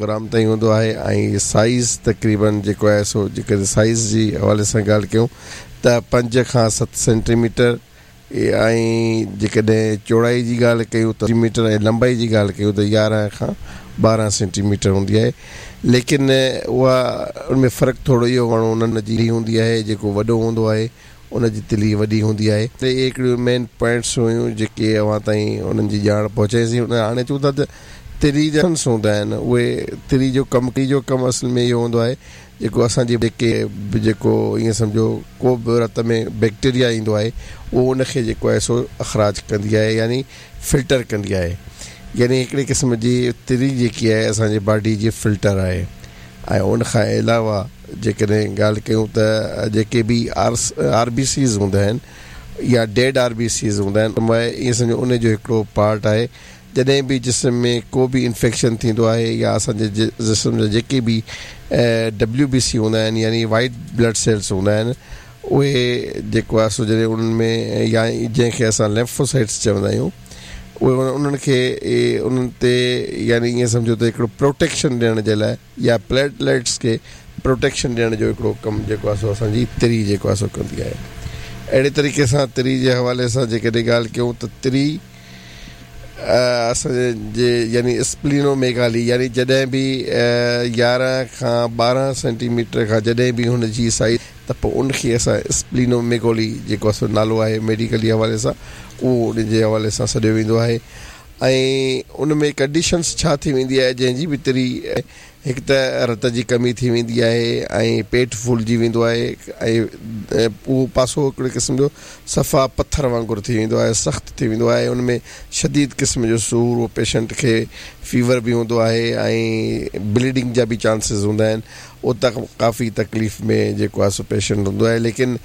Gram تائين هوندو آهي ۽ سائيز تقريبن جيڪو آهي سو جيڪڏهن سائيز جي حوالي سان ڳالهه ڪيون ته پنج کان ست سينٽي ميٽر ۽ جيڪڏهن چوڙائي جي ڳالهه ڪيون ته ميٽر ۽ لمبائي جي ڳالهه ڪيون ته 11 کان 12 سينٽي ميٽر هوندي آهي ليڪن اها ان ۾ فرق ٿورو اهو گهڻو انهن جي هوندي آهي جيڪو وڏو هوندو آهي ان جي تلي وڏي هوندي آهي. اهي هڪڙيون مين پوائنٽس هيون جيڪي اوهان تائين انهن جي ڄاڻ پهچائيسين. هاڻي اچون ٿا ته تري جا سنس هوندا آهن اهي تري جو ڪم تري جو ڪم اصل ۾ اهو هوندو آهي جيڪو اسان جي جيڪي به جيڪو ائين سمجهو ڪو به رت ۾ بيڪٽيريا ايندو آهي اهو ان کي جيڪو آهي سو اخراج ڪندي آهي يعني فلٽر ڪندي آهي يعني هڪڙي قسم جي تري جيڪي آهي اسان جي باڊي جي فلٽر آهي ۽ ان کان علاوه جيڪڏهن ڳالهه ڪيون ته جيڪي به آر بي سيز هوندا آهن يا ڊيڊ آر بي سيز هوندا آهن ائين سمجهو ان جو هڪڙو پارٽ آهي جڏهن به جسم ۾ ڪو به انفيڪشن ٿيندو آهي يا اسان جي جسم جا جيڪي به ڊبليو بي سي هوندا آهن يعني وائيٽ بلڊ سيلز هوندا آهن اهي جيڪو آهي سو جڏهن انهن ۾ يا جنهن کي اسان ليمفوسائٽس چوندا آهيون اهي انهن کي انهن تي يعني ائين سمجهو ته هڪڙو پروٽيڪشن ڏيڻ جي لاء يا پليٽليٽس کي پروٽيڪشن ڏيڻ جو هڪڙو ڪم جيڪو آهي سو اسان جي تري جيڪو آهي سو ڪندي آهي. اهڙي طريقي سان تري جي حوالي سان جيڪڏهن ڳالهه ڪيون ته تري اسان جي يعني اسپلينو ميگالي يعني جڏهن به 11 کان 12 سينٽي ميٽر کان جڏهن به هن جي سائيز ته پوء ان کي اسان اسپلينو ميگولي جيڪو آهي سو نالو آهي ميڊيڪلي حوالي سان اهو ان جي حوالي سان سڏيو ويندو آهي ۽ ان ۾ ڪنڊيشنس ڇا ٿي ويندي آهي جنهن جي به تري هڪ ته رت جي ڪمي ٿي ويندي آهي ۽ پيٽ ڦولجي ويندو آهي ۽ اهو پاسو هڪڙي قسم جو صفا پٿر وانگر ٿي ويندو آهي سخت ٿي ويندو آهي ان ۾ شديد قسم جو سور اهو پيشنٽ کي فيور به هوندو آهي ۽ بليڊنگ جا به چانسز هوندا آهن اهو ڪافي تڪليف ۾ جيڪو آهي سو پيشنٽ هوندو آهي ليڪن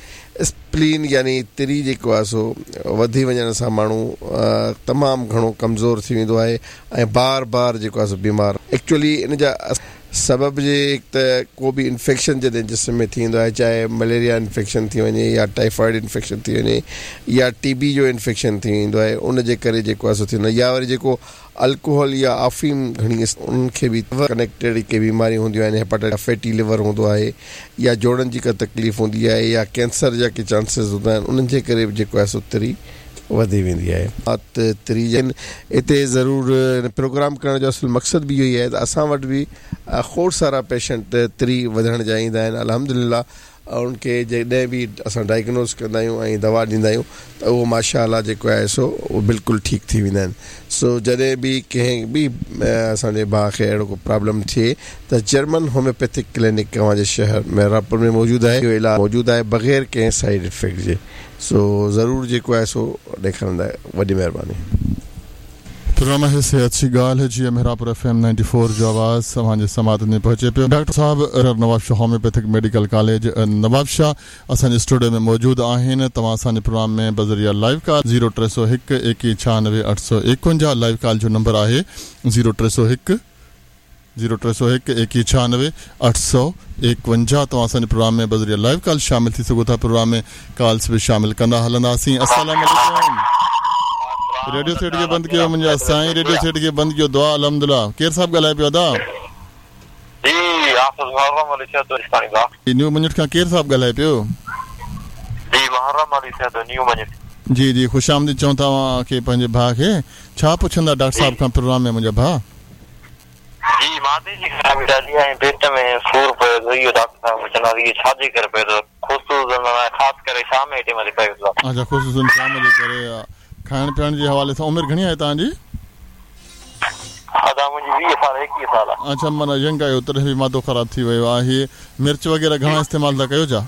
اسپلين يعني تري جيڪو آهي سو وڌي وڃڻ سان ماڻهو تمام گهڻو ڪمزور ٿي ويندو آهي ۽ بار بار جيڪو آهي سو بيمار ايڪچولي ان جا سبب جي هڪ ته ڪو به انفيڪشن جڏهن جسم ۾ ٿي ويندو آهي چاهي مليريا انفيڪشن ٿي وڃي يا ٽائيفائيڊ انفيڪشن ٿي وڃي يا ٽي بي جو انفيڪشن ٿي ويندو آهي ان جي ڪري جيڪو آهي سو ٿيندو آهي يا وري جيڪو الڪوحل يا آفيم گهڻي انهن کي به ڪنيڪٽيڊ ڪي بيماريون هونديون آهن هيپاٽائٽس فيٽي ليور هوندو آهي يا جوڙن جي ڪا تڪليف هوندي آهي يا ڪينسر جا ڪي چانسز هوندا آهن انهن جي ڪري به جيڪو آهي سو تري وڌي ويندي آهي. تري اتي ضرور هن پروگرام ڪرڻ جو اصل مقصد به اهو ئي آهي ته اسان وٽ به کوڙ سارا پيشنٽ تري وڌڻ جا ايندا آهن الحمدلله انهن کي جڏهن به اسان ڊائگنوز ڪندا آهيون ۽ دوا ڏيندا آهيون ته اهو ماشاء الله جيڪو آهي سو اهو بلڪل ٺيڪ ٿي ويندا آهن سو جڏهن به ڪنهن به اسان جي ڀاء کي اهڙو ڪو پرابلم ٿئي ته جرمن هوميوپيٿڪ ڪلينڪ اوهان جي شهر محرابپور ۾ موجود آهي اهو علاج موجود آهي بغير ڪنهن سائيڊ افيڪٽ جي سو ضرور جيڪو آهي سو ڏيکارندا وڏي مهرباني. پروگرام آهي صحت جي ڳالهه جي محرابپور ايف ايم 94 جو آواز اوهان جي سماعتن تائين پهچي پيو. ڊاڪٽر صاحب Nawabshah homeopathic medical college Nawabshah اسان جي اسٽوڊيو ۾ موجود آهن توهان اسان جي پروگرام ۾ بذريعه لائيو ڪال زيرو ٽي سو هڪ ايڪيهه ڇهانوي اٺ سو ايڪونجاهه لائيو ڪال جو نمبر آهي زيرو ٽي سو هڪ زيرو ٽي سؤ هڪ ايڪيهه ڇهانوي اٺ سؤ ايڪونجاهه توهان اسان جي پروگرام ۾ بذريعه لائيو ڪال شامل ٿي سگهو ٿا پروگرام ۾ ڪالس به شامل ڪندا هلنداسين السلام عليڪم ريڊيو سيٽ کي بند ڪيو منهنجا سائين ريڊيو سيٽ کي بند ڪيو دعا الحمدلله ڪير صاحب ڳالهائي پيو ادا. جي حافظ محرم علي سهتو جسڪاڻي ڀاء. نيو مڃٺ کان ڪير صاحب ڳالهائي پيو. جي محرم علي سهتو نيو مڃٺ. جي جي خوش آمديد چئون ٿا اوهان کي پنهنجي ڀاء کي ڇا پڇندا ڊاڪٽر صاحب کان پروگرام ۾ منهنجا ڀاء. جي معدي جي خرابي ڏاڍي آهي ۽ پيٽ ۾ سور پئي ٿو اهو ڊاڪٽر صاحب پڇنداسين اهو ڇا جي ڪري پئي ٿو خصوصن ۽ خاص ڪري شام جي ٽيم تي پئي ٿو. اڇا خصوصن شام جي ڪري کائڻ پيئڻ جي حوالي سان عمر گهڻي آهي توهان جي؟ ادا منهنجي 20 سال 21 سال آهي. اڇا معنيٰ ينگ آهيو تڏهن به معدو خراب ٿي ويو آهي مرچ وغيره گهڻا استعمال ٿا ڪيو ڇا؟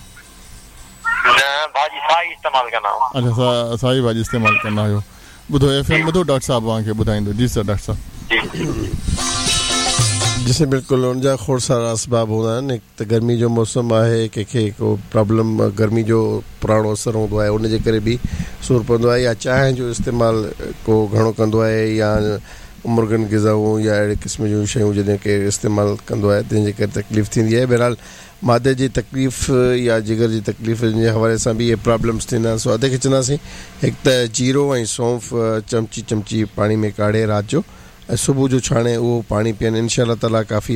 نه ڀاڄي سائي استعمال ڪندا آهيون. اڇا سائي ڀاڄي استعمال ڪندا آهيو. ٻڌو ايف ايم ٻڌو ڊاڪٽر صاحب اوهان کي ٻڌائيندو جي سر ڊاڪٽر صاحب. جي سائين بلڪل ان جا کوڙ سارا اسباب هوندا آهن هڪ ته گرمي جو موسم آهي ڪنهن کي ڪو پرابلم گرمي جو پراڻو اثر هوندو آهي ان جي ڪري به سور پوندو آهي يا چانهه جو استعمال ڪو گهڻو ڪندو آهي يا مرغن غذائون يا اهڙي قسم جون شيون جڏهن ڪير استعمال ڪندو آهي تنهن جي ڪري تڪليف ٿيندي آهي بهرحال معدي جي تڪليف يا جگر جي تڪليف جي حوالي سان به اهي پرابلمس ٿيندا آهن سو ادي کي چونداسين هڪ ته جيرو ۽ سونف چمچي چمچي پاڻي ۾ ڪاڙهي رات جو ۽ صبح جو ڇاڻي اهو پاڻي پيئن انشاء الله تعالي ڪافي.